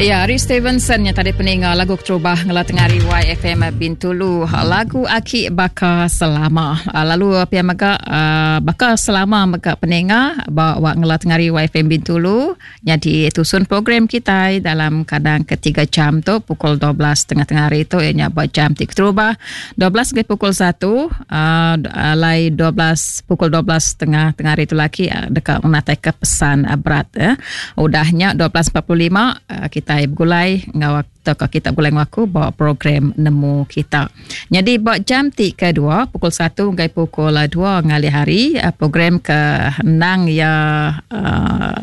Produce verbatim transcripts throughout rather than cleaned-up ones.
Ya, Ari Stevenson yang tadi peninga lagu keterubah ngela tengah hari Y F M Bintulu. Lagu Aki Baka Selama. Ah, lalu pia mega ah, baka selama mega peninga bawa ngela tengah hari Y F M Bintulu. Jadi tusun program kita dalam kadang ketiga jam tu pukul dua belas tengah-tengah hari tu ianya buat jam ti keterubah dua belas ke pukul satu, uh, alai dua belas pukul dua belas tengah tengah hari tu lagi uh, dekat menatai ke pesan uh, berat ya. Udahnya dua belas empat puluh lima uh, kita bergulai ngau atau kita gulai aku bawa program Nemu Kita. Jadi buat jam ti kedua pukul satu hingga pukul dua ngalih hari, uh, program ke nang ya uh,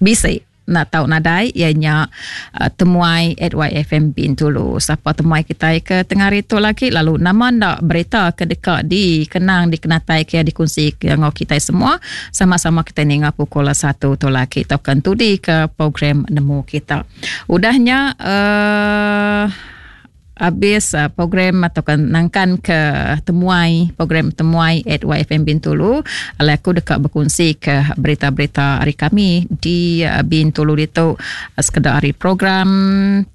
bisi nak tahu nadai ianya uh, temuai at Y F M Bintulu. Siapa temuai kita ke tengah hari tu lagi, lalu nama ndak berita ke dekat di kenang dikenatai ke dikongsi ke ngau kita semua, sama-sama kita ninga pukul satu tu lagi atau kan tudi ke program Nemu Kita. Udahnya uh, habis uh, program atau kan nangkan ke temuai, program temuai at Y F M Bintulu, alai aku dekat berkongsi ke berita-berita hari kami di uh, Bintulu itu, uh, sekedar hari program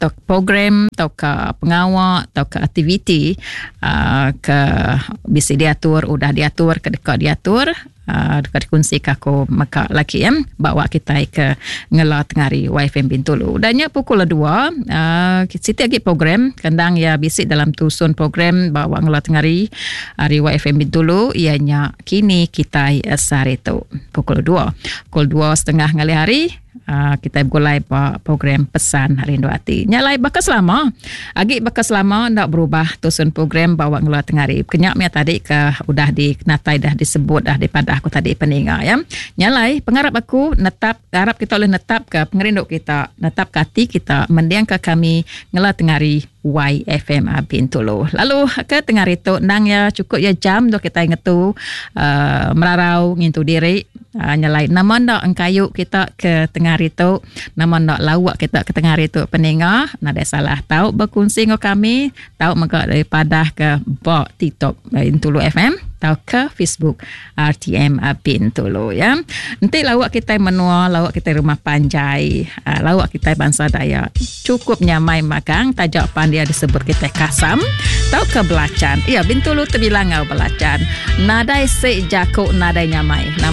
atau program atau ke pengawal atau ke aktiviti uh, ke bisa diatur, udah diatur, ke dekat diatur, uh, dekat dikongsi ke aku maka lagi ya bawa kita ke ngela tengari Y F M Bintulu. Dannya pukul dua, uh, siti lagi program kendang ya bisik dalam tusun program bawa ngela tengari hari Y F M Bintulu ianya Kini Kita Sehari tu pukul dua. Pukul dua setengah ngalih hari uh, kita bergulai ba program Pesan Rindu Ati. Nyalai bakal selama. Agi bakal selama ndak berubah tusun program bawa ngela tengari. Kenyak mia tadi ke udah di natai dah disebut dah daripada aku tadi peninga ya. Nyalai pengarap aku netap harap kita boleh netap ke pengerindu kita, netap ke hati kita mendiang ke kami ngela tengari Y F M Bintulu. Lalu ke tengah itu nang ya cukup ya jam tu kita ngetu uh, merarau ngintu diri, uh, nyalai nama ndak engkayu kita ke tengah itu, nama ndak lawak kita ke tengah itu peninga nada salah tahu berkongsi dengan kami, tahu mega daripada ke bok TikTok Bintulu F M atau ke Facebook R T M Bintulu ya. Nanti lawak kita menua, lawak kita rumah panjai, uh, lawak kita bangsa Dayak. Cukup nyamai makan, tajak pandia disebut kita kasam atau ke belacan. Ya, Bintulu terbilang ngau belacan. Nadai sek jakuk nadai nyamai. Nama